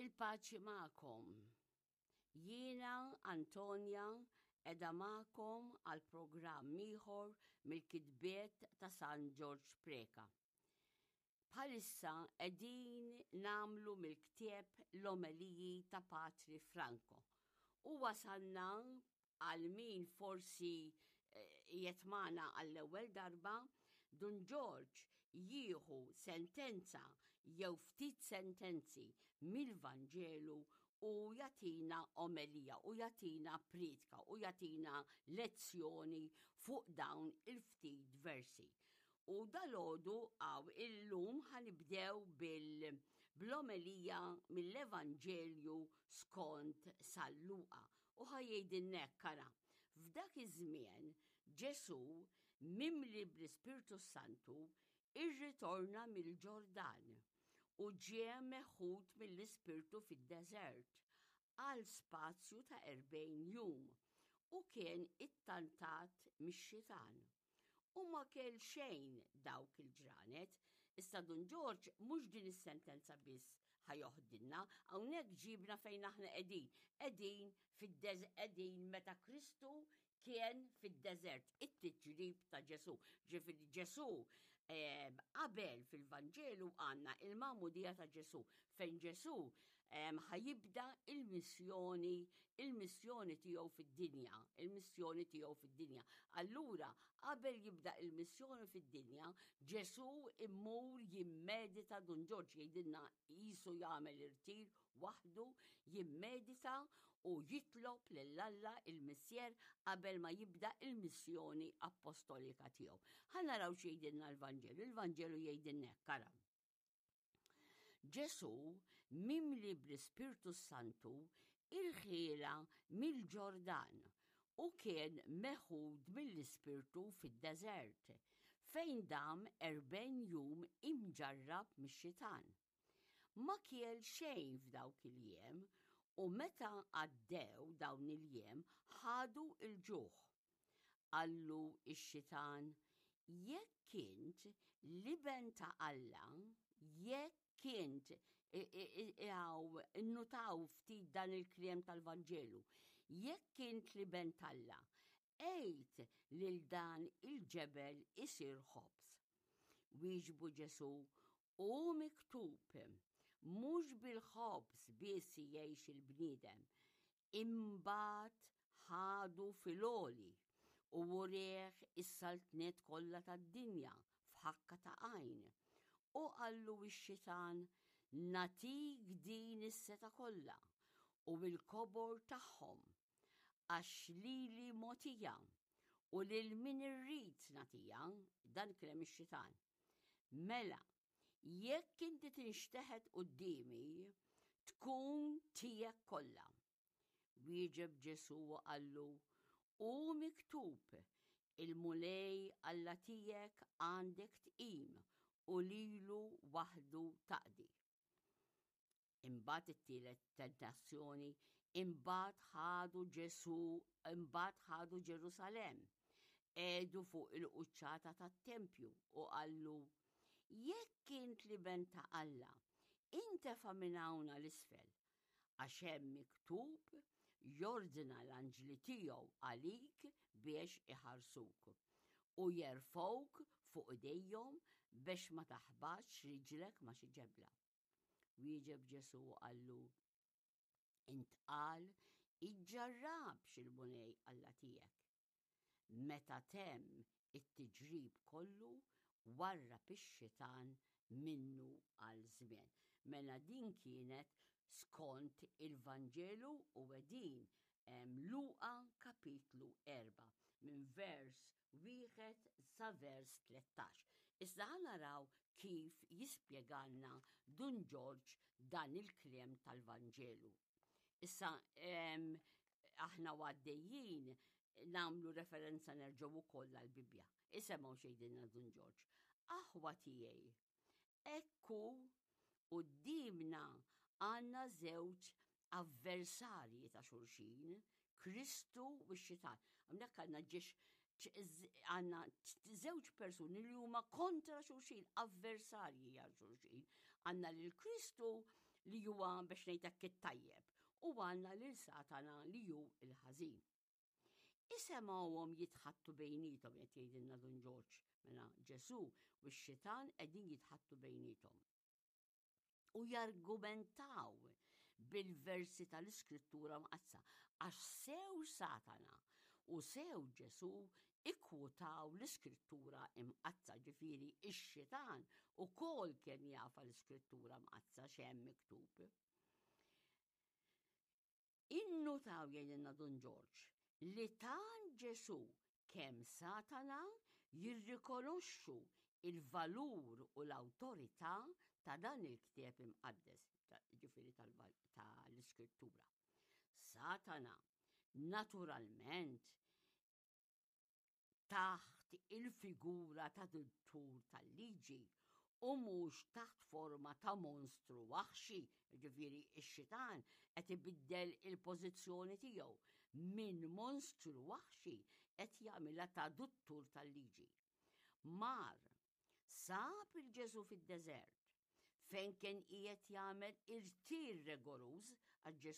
Il-paċi magħkom. Jiena Antonia edha magħkom għal programm ieħor mill-kitbiet ta' San Ġorġ Preca. Bħalissa qegħdin nagħmlu mill-ktieb l-omeliji ta' Patri Franco. U wasalna għal min forsi eh, qiegħed magħna għall-ewwel darba, Dun Ġorġ jieħu sentenza jew ftit sentenzi mill-Vanġelu u jagħtina omelija u jagħtina priedka u jagħtina lezzjoni fuq dawn il-ftit versi. U dalodu għaw illum ħanibdew bil-omelija mill-Evanġelju skont San Luqa. U ħa jgħidilna hekk, ara, f'dak iż-żmien Ġesù, mimli bl-Ispirtu s-Santu, irritorna mill-Ġordan u ġie meħud mill-Ispirtu fid-deżert għal spazju ta' 40 jum u kien ittantat mix-xitan. U ma kell xejn dawk il-ġranet. Issa Dun Ġorġ mhux din is-sentenza biss ħa joħdilna, hawnhekk ġibna fejn aħna qegħdin. Qegħdin fid-deż qegħdin meta Kristu kien fid-deżert, it-tiġrib ta' Ġesù. Ġifieri Ġesù eh, qabel fil-Vanġelu għandna il-magħmudija ta' Ġesù, fejn Ġesù ħajibda il-missjoni, il-missjoni tiegħu fid-dinja, il-missjoni tiegħu fid-dinja. Allura, qabel jibda il-missjoni fid-dinja, Ġesù immur jimmedita Dun Ġorġ jgħidilna qisu jagħmel irtir waħdu, jimmedita u jitlob lil Alla il-Missier qabel ma jibda il-missjoni appostolika tiegħu. Ħa naraw x'jgħidilna l-Vanġelu. Il-Vanġelu jgħidilna hekk, ara. Ġesù, mimli bl-Ispirtu s-Santu, irħielha mill-Ġordan u kien meħud mill-Ispirtu fid-deżert, fejn dam 40 jum imġarrab mix-xitan. Ma kiel xejn f'dawk il-jiem u meta għaddew dawn il-jiem ħadu l-ġuħ. Qallu x-xitan, Jekk int l-Iben ta' Alla, jekk int, innutaw ftit dan il-kliem tal-Vanġelu, jekk int l-Iben t'Alla, għid lil dan il-ġebel isir ħobż. Wieġbu Ġesù, Hu miktub, mhux bil-ħobż biss jgħix il-bniedem, Imbagħad ħadu fil-għoli u wrieh is-saltniet kollha tad-dinja f'ħakka ta' għajn. U qallu x-xitan, Nagħtik din is-setgħa kollha u l-kobor tagħhom, għax lili mogħtija u lil min irrid nagħtiha, dan kliem ix-xitan. Mela, jekk inti tinxteħet quddiemi, tkun tiegħek kollha. Wieġeb Ġesù u qallu, Hu miktub, il-Mulej Alla tiegħek għandek tqim u lilu waħdu taqdi. Imbagħad it-tielet tentazzjoni, imbagħad ħadu Ġesù, imbagħad ħadu Ġerusalemm. Qegħdu fuq il-quċċata tat-tempju u qallu, Jekk int l-Iben ta' Alla, intefa' minn hawn għal isfel, għax hemm miktub jordna l-anġli tiegħu għalik biex iħarsuk u jerfgħuk fuq idejhom biex ma taħbatx riġlek ma' xi ġebla. Wieġeb Ġesù u qallu, Intqal, iġġarrabx il-Mulej Alla tiegħek. Meta temm it-tiġrib kollu, warrab ix-xitan minnu għal żmien. Mela din kienet skont il-Vanġelu u qegħdin Luqa kapitlu 4 minn vers 1 sa vers 13. Issa ħa naraw kif jispjegalna Dun Ġorġ dan il-kliem tal-Vanġelu. Issa aħna għaddejjin nagħmlu referenza nerġgħu wkoll għall-Bibbja. Isemgħu xejdilna Dun Ġorġ. Aħwa tiegħi, Ekku quddiemna għandna żewġ avversarji ta' xulxin, Kristu u x-xitan. Hawnhekk għandna ġiex għandna żewġ persuni li huma kontra xulxin, avversarji għal xulxin. Għandna lil Kristu. li huwa biex ngħid hekk it-tajjeb u għandna lil Satana li hu l-ħażin. Isemgħuhom jitħattu bejniethom qed jgħidilna Dun Ġorġ, mela Ġesù u x-xitan qegħdin jitħattu bejniethom. U jargumentaw bil-versi tal-Iskrittura Mqaddsa għax sew Satana u sew Ġesù ikkwutaw l-Iskrittura Imqaddsa, ġifieri x-xitan ukoll kien jafa l-Iskrittura Mqaddsa x'hemm miktub. Innutaw jgħidilna Dun Ġorġ li tant Ġesù kemm Satana jirrikonoxxu il-valur u l-awtorità ta' dan il-ktieb imqaddes, ġifieri tal-Iskrittura. Satana, naturalment, taħt il-figura ta' duttur tal-liġi u mhux taħt forma ta' monstru waħxi, jiġifieri x-xitan qed ibiddel il-pożizzjoni tiegħu minn monstru waħxi qed jagħmilha ta' duttur tal-liġi. Mar, sab il Ġesù fid-deżert, fejn kien qiegħed jagħmel irtir regoruż għax Ġesù.